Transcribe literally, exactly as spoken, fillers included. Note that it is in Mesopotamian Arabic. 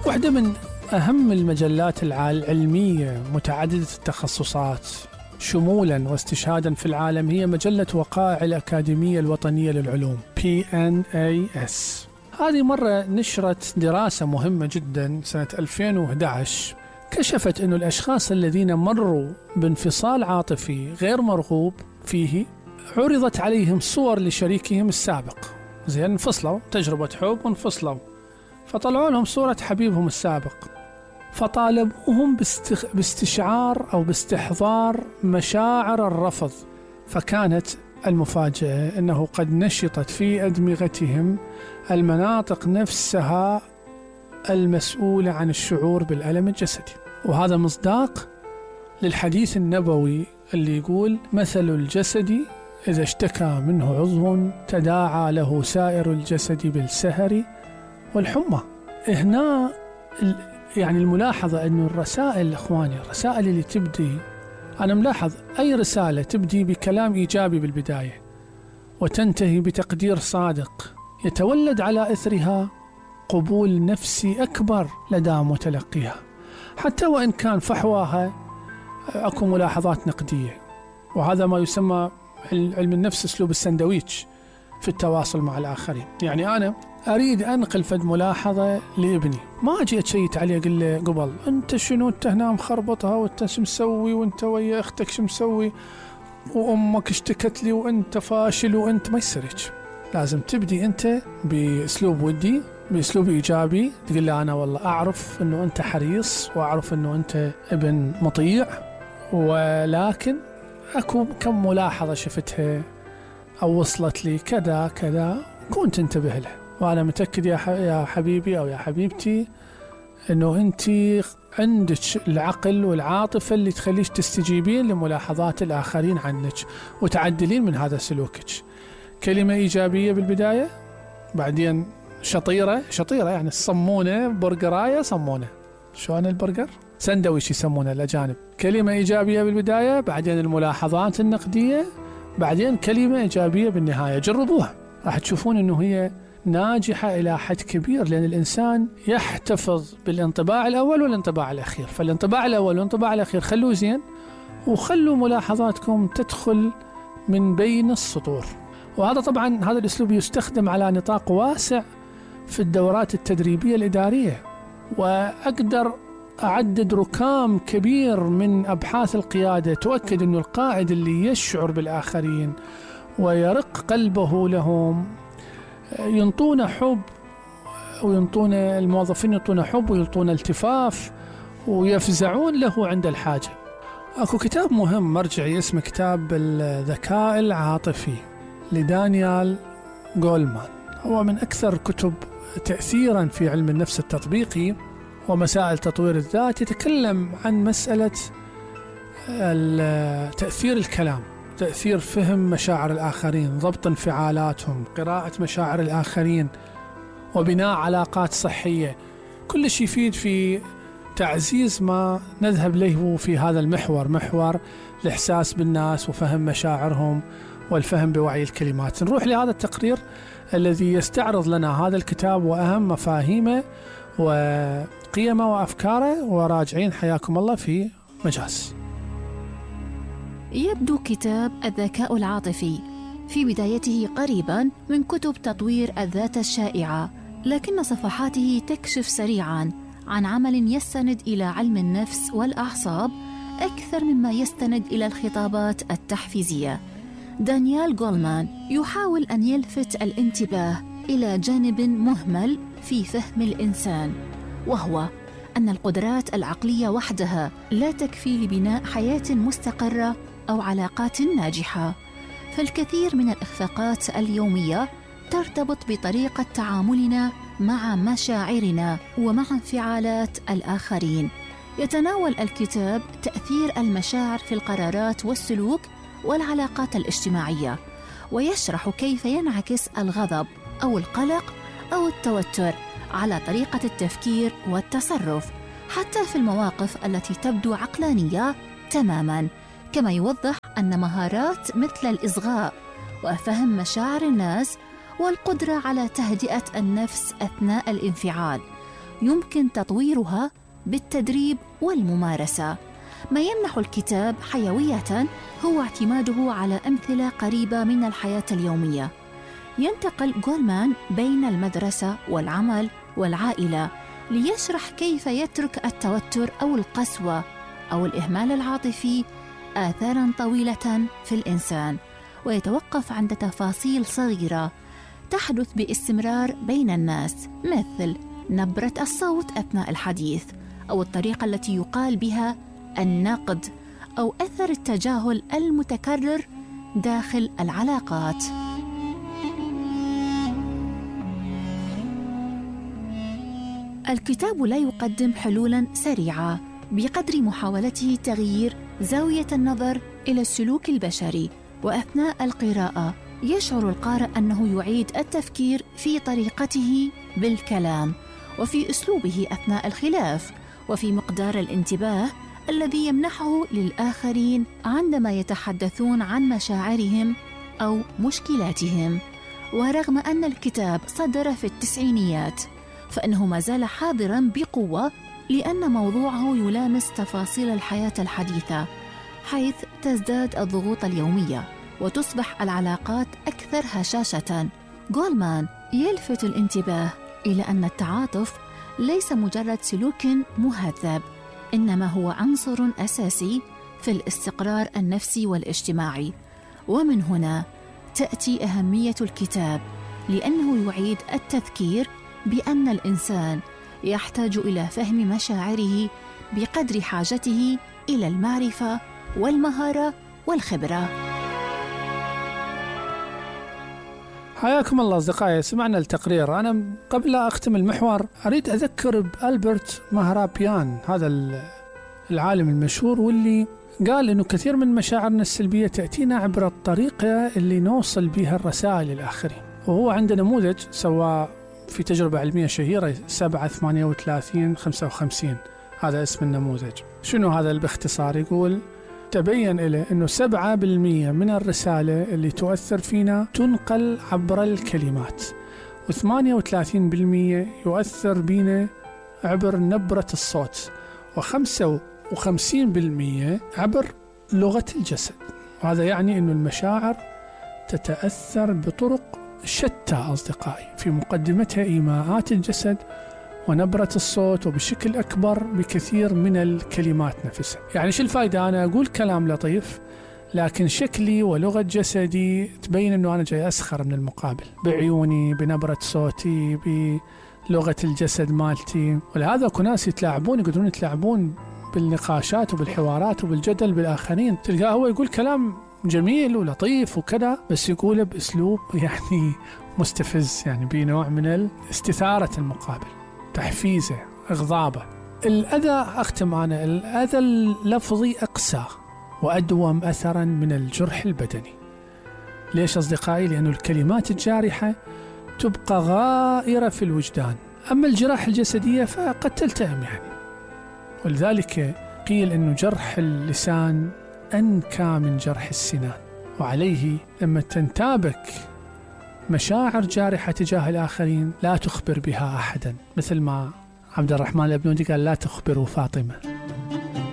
واحدة من أهم المجلات العلمية متعددة التخصصات شمولا واستشهادا في العالم هي مجلة وقائع الأكاديمية الوطنية للعلوم بي إن إيه إس. هذه مرة نشرت دراسة مهمة جدا سنة ألفين وأحد عشر كشفت أن الأشخاص الذين مروا بانفصال عاطفي غير مرغوب فيه عرضت عليهم صور لشريكهم السابق. زين، انفصلوا، تجربة حب وانفصلوا، فطلعوا لهم صورة حبيبهم السابق، فطالبوهم باستخ... باستشعار أو باستحضار مشاعر الرفض. فكانت المفاجأة أنه قد نشطت في أدمغتهم المناطق نفسها المسؤولة عن الشعور بالألم الجسدي. وهذا مصداق للحديث النبوي اللي يقول: مثل الجسد إذا اشتكى منه عضو تداعى له سائر الجسد بالسهر والحمى. هنا يعني الملاحظة أنه الرسائل، أخواني، الرسائل اللي تبدي، أنا ملاحظ أي رسالة تبدي بكلام إيجابي بالبداية وتنتهي بتقدير صادق يتولد على إثرها قبول نفسي أكبر لدى متلقيها، حتى وإن كان فحواها أكو ملاحظات نقدية. وهذا ما يسمى علم النفس أسلوب السندويتش في التواصل مع الآخرين. يعني أنا أريد أنقل فد ملاحظة لابني، ما أجي أتشيت عليه أقول له قبل أنت شنو، أنت هنا مخربطها، وأنت شو مسوي، وأنت ويا أختك شو مسوي، وأمك اشتكت لي، وأنت فاشل، وأنت ما يصيرش. لازم تبدي أنت بأسلوب ودي، بأسلوب إيجابي، تقول له أنا والله أعرف أنه أنت حريص، وأعرف أنه أنت ابن مطيع، ولكن أكو كم ملاحظة شفتها أو وصلت لي كذا كذا، كنت انتبه له. وأنا متأكد يا يا حبيبي أو يا حبيبتي أنه أنت عندك العقل والعاطفة اللي تخليش تستجيبين لملاحظات الآخرين عنك وتعدلين من هذا سلوكك. كلمة إيجابية بالبداية، بعدين شطيرة شطيرة يعني الصمونة، برجراية صمونة، شو أنا البرجر سندويش يسمونه الأجانب. كلمة إيجابية بالبداية، بعدين الملاحظات النقدية، بعدين كلمة إيجابية بالنهاية. جربوها، راح تشوفون أنه هي ناجحة إلى حد كبير، لأن الإنسان يحتفظ بالانطباع الأول والانطباع الأخير. فالانطباع الأول والانطباع الأخير خلوه زين، وخلوا ملاحظاتكم تدخل من بين السطور. وهذا طبعا هذا الأسلوب يستخدم على نطاق واسع في الدورات التدريبية الإدارية، وأقدر أعدد ركام كبير من أبحاث القيادة تؤكد أن القائد اللي يشعر بالآخرين ويرق قلبه لهم ينطون حب، وينطون الموظفين ينطون حب، وينطون التفاف، ويفزعون له عند الحاجة. أكو كتاب مهم مرجعي اسمه كتاب الذكاء العاطفي لدانيال غولمان، هو من أكثر كتب تأثيرا في علم النفس التطبيقي ومسائل تطوير الذات. يتكلم عن مسألة تأثير الكلام، تأثير فهم مشاعر الآخرين، ضبط انفعالاتهم، قراءة مشاعر الآخرين، وبناء علاقات صحية. كل شيء يفيد في تعزيز ما نذهب له في هذا المحور، محور الإحساس بالناس وفهم مشاعرهم والفهم بوعي الكلمات. نروح لهذا التقرير الذي يستعرض لنا هذا الكتاب وأهم مفاهيمه وقيمه وأفكاره، وراجعين حياكم الله في مجاز. يبدو كتاب الذكاء العاطفي في بدايته قريبا من كتب تطوير الذات الشائعة، لكن صفحاته تكشف سريعا عن عمل يستند إلى علم النفس والأعصاب أكثر مما يستند إلى الخطابات التحفيزية. دانيال غولمان يحاول أن يلفت الانتباه إلى جانب مهمل في فهم الإنسان، وهو أن القدرات العقلية وحدها لا تكفي لبناء حياة مستقرة أو علاقات ناجحة. فالكثير من الإخفاقات اليومية ترتبط بطريقة تعاملنا مع مشاعرنا ومع انفعالات الآخرين. يتناول الكتاب تأثير المشاعر في القرارات والسلوك والعلاقات الاجتماعية، ويشرح كيف ينعكس الغضب أو القلق أو التوتر على طريقة التفكير والتصرف، حتى في المواقف التي تبدو عقلانية تماماً. كما يوضح أن مهارات مثل الإصغاء وفهم مشاعر الناس والقدرة على تهدئة النفس أثناء الانفعال يمكن تطويرها بالتدريب والممارسة. ما يمنح الكتاب حيوية هو اعتماده على أمثلة قريبة من الحياة اليومية. ينتقل جولمان بين المدرسة والعمل والعائلة ليشرح كيف يترك التوتر أو القسوة أو الإهمال العاطفي آثاراً طويلة في الإنسان، ويتوقف عند تفاصيل صغيرة تحدث باستمرار بين الناس، مثل نبرة الصوت أثناء الحديث، أو الطريقة التي يقال بها النقد، أو أثر التجاهل المتكرر داخل العلاقات. الكتاب لا يقدم حلولاً سريعة بقدر محاولته تغيير زاوية النظر إلى السلوك البشري، وأثناء القراءة يشعر القارئ أنه يعيد التفكير في طريقته بالكلام، وفي أسلوبه أثناء الخلاف، وفي مقدار الانتباه الذي يمنحه للآخرين عندما يتحدثون عن مشاعرهم أو مشكلاتهم. ورغم أن الكتاب صدر في التسعينيات، فإنه ما زال حاضراً بقوة، لأن موضوعه يلامس تفاصيل الحياة الحديثة، حيث تزداد الضغوط اليومية وتصبح العلاقات أكثر هشاشة. جولمان يلفت الانتباه إلى أن التعاطف ليس مجرد سلوك مهذب، إنما هو عنصر أساسي في الاستقرار النفسي والاجتماعي. ومن هنا تأتي أهمية الكتاب، لأنه يعيد التذكير بأن الإنسان يحتاج إلى فهم مشاعره بقدر حاجته إلى المعرفة والمهارة والخبرة. حياكم الله أصدقائي، سمعنا التقرير. أنا قبل أختم المحور أريد أذكر بألبرت مهرابيان، هذا العالم المشهور، واللي قال إنه كثير من مشاعرنا السلبية تأتينا عبر الطريقة اللي نوصل بها الرسائل للآخرين. وهو عنده نموذج سوى في تجربة علمية شهيرة سبعة ثمانية وثلاثين خمسة وخمسين، هذا اسم النموذج. شنو هذا باختصار؟ يقول تبين إليه أنه سبعة بالمية من الرسالة اللي تؤثر فينا تنقل عبر الكلمات، وثمانية وثلاثين بالمية يؤثر بينا عبر نبرة الصوت، وخمسة وخمسين بالمية عبر لغة الجسد. وهذا يعني أنه المشاعر تتأثر بطرق شتى أصدقائي، في مقدمتها إيماءات الجسد ونبرة الصوت، وبشكل أكبر بكثير من الكلمات نفسها. يعني شو الفائدة أنا أقول كلام لطيف لكن شكلي ولغة جسدي تبين أنه أنا جاي أسخر من المقابل، بعيوني، بنبرة صوتي، بلغة الجسد مالتي. ولهذا أكو ناس يتلاعبون، يقدرون يتلاعبون بالنقاشات وبالحوارات وبالجدل بالآخرين. تلقاه هو يقول كلام جميل ولطيف وكذا، بس يقوله بأسلوب يعني مستفز، يعني بنوع من استثارة المقابل، تحفيزه، إغضابه. الأذى، أختم أنا، الأذى اللفظي أقسى وأدوم أثرا من الجرح البدني. ليش أصدقائي؟ لأن الكلمات الجارحة تبقى غائرة في الوجدان، أما الجراح الجسدية فقد تلتئم يعني. ولذلك قيل أنه جرح اللسان أنكى من جرح السنان، وعليه لما تنتابك مشاعر جارحة تجاه الآخرين لا تخبر بها أحدا، مثل ما عبد الرحمن الأبنودي قال لا تخبروا فاطمة.